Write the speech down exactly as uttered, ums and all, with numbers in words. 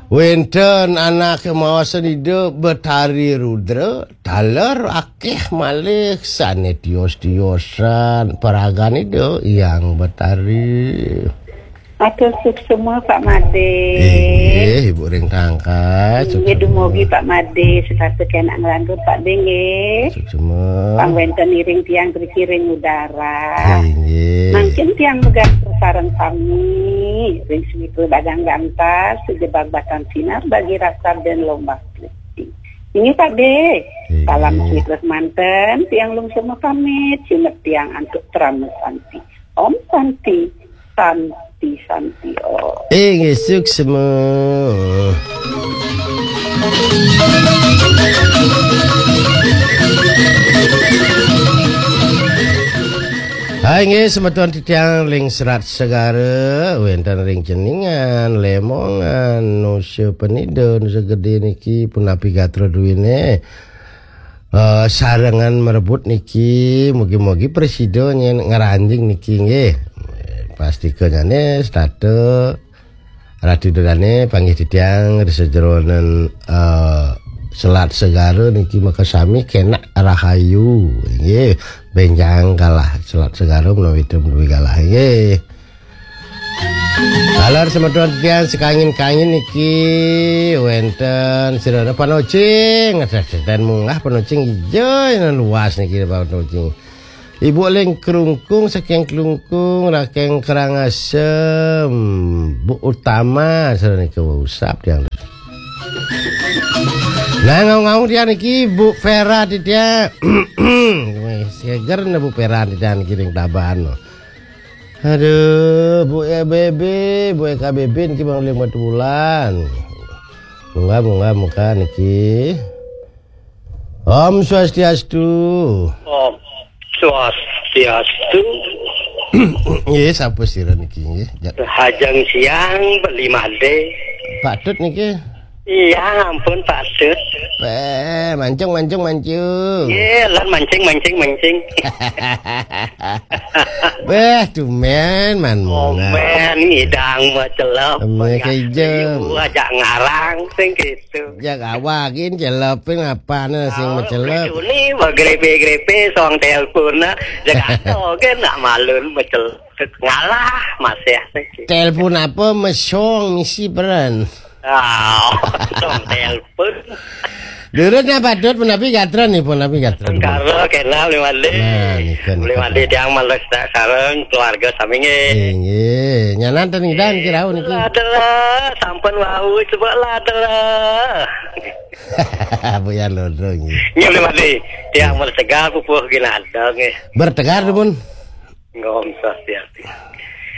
Wénten anaké maosang Ida Betari Rudra, taler akéh malih sané tios-tiosan paragan Ida Hyang Betari. Atur suksma, Pak Madé. Inggih, Ibu ring tangkas, inggih, suksma. Dumugi Pak Madé, setata kénak ngrangkep Pak Dé, nggih. Suksma. Pang wénten iring tiang driki ring udara. Inggih. Mangkin tiang megat sareng sami ring sumitra dagang gantas, sejebag batan sinar, bagi rasa dan lombak putih. Inggih, Pak Dé. Inggih. Salam sumitra semanten, tiang lungsur pamit, sineb tiang antuk parama santi. Om Santi, Santi, Santi, Om. Inggih, suksma. Hai, inggih, semeton titiang ring Selat Segara, wénten ring Ceningan, Lemongan, Nusa Penida, Nusa Gedé niki, punapi gatra duéné. Eh, sarengan marebut niki, mugi-mugi prasida nyén ngranjing niki, nggih. Pastika nyané setata Ratu Ida Dané panggih titiang ring sajeroning, eh, Selat Segara niki makasami kénak rahayu, nggih. Bénjang galah Selat Segara menawi té menawi galah, nggih. Taler semeton titiang sakangin-kangin niki wénten sira panocing, seten munggah panocing ija ina luas niki panocing. Ibu Ling Krungkung saking Klungkung, Rakeng Karangasem, Bu Utama, sira nika usap tiang. Nah, ngaung-ngaung tiang niki, Bu Vera titiang. Seger nah Bu Vera titiang niki ring Tabanan. Aduh, Bu E B B, Bu E K B B niki Bang Ling Batu Bulan. Munggah, munggah, munggah niki. Om Swastiastu. Om Swastiastu. Nggih, sapa sira niki nggih? Ja- Hajeng siang, Beli Madé. Pak Tut niki. Iya, ampun, Pak Tut. Eh, mancung, mancung, mancung. Iya, lan mancing, mancing, mancing. Wéh, tumén man munggah. Tumén ngidang macelep. Tumén kéjem. Ajak ngarang sing gitu. Jak awak gin celepin apane sing macelep. Ini bagrepe-grepe song telepon, nah, Jakarta kan nak malun macelep. Ngalah masih. Telepon apa mesong misi peran? Ah, song telepon. Durut napa Dut, punapi gatra nih, punapi gatra. Karo kenal Beli Madé. Nah, nika, nika. Beli Madé tiang malih sedak sareng keluarga sami nggih. Nggih, nggih. Nyanan ten ngidang niki rauh niki. Adalah, sampun wau coba lah adalah. Bu ya loro nggih. Nggih, Beli Madé. Tiang malih tegar pupuh ginada nggih. Bertegar, Dun. Nggih, Om Swastiastu.